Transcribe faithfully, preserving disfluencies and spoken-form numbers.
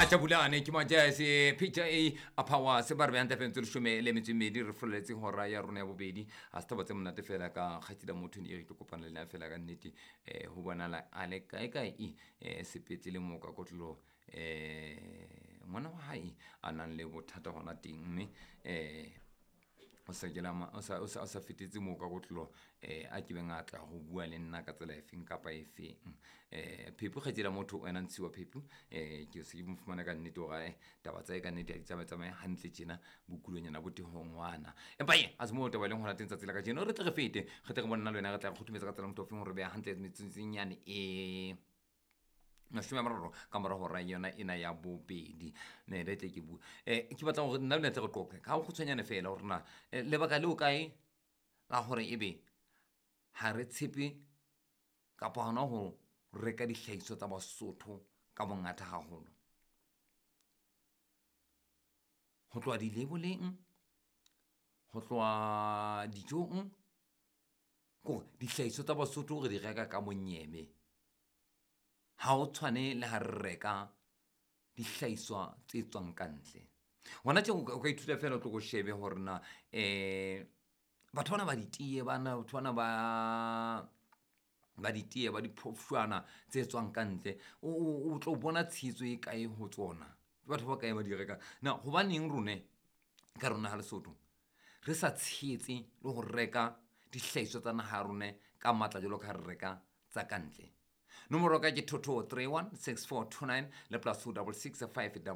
Majabulane ke majase picture a a power se ba re behang tlafeng tse leshome le metso e mmedi re fololetse hora ya rona ya bobedi. Ha se taba tse monate fela ka kgaitsedi ya motho ne re tlo kopana le ena fela ka nnete. um Ho bonala a le kae kae um sepetlele moo ka kotloloho, um ngwana wa hae a nang le bothata hona teng, mme um o sa kela o sa o sa o sa fetetse moo ka kotloloho, um a ke beng a tla go bua le nna ka tsela efeng kapa efeng. um Phephu kgaitsedi ya motho wena ntshiwa Phephu, um ke se ke mo fumana ka nnete hore ae taba tsa hae ka nnete ha di tsamaye tsamaye hantle tjena, bokulonyana bo teng ho ngwana. Empa e a se moo taba e leng hona teng tsatsi la kajeno, re tle re fete re tle re bone nna le wena re tla re kgothumetsa ka tsela motho ofeng hore beha hantle metsotsonyane e mashome a mararo ka mora hora yona ena ya bobedi. Ne le tle ke bue, um ke batla hore nna le tle re qoqe ka kgutshwanyane fela hore na eh, lebaka leo kae la hore ebe ha re tshepe kapa hona ho reka dihlahiswa tsa Basotho ka bongata haholo, ho tloha di-label-eng, ho tloha dijong, kore dihlahiswa tsa Basotho re di reka ka monyebe. Ha o tshwane le ha re reka dihlahiswa tse tswang ka ntle. Hona tje o ka o ka ithuta fela o tlo ko shebe hore na um batho bana ba ditee bana, batho bana ba ba ditee ba diphofshwana tse tswang ka ntle, o o- o tlo bona tshehetso e kae ho tsona, ke batho ba bakae ba di rekang. Na hobaneng rone ka rona ha Lesotho re sa tshehetse le ho reka dihlahiswa tsa naha ya rone ka matla jwalo ka ha re reka tsa ka ntle? Nomoro ya ka ke two two three one six four two nine le plus two double six five double.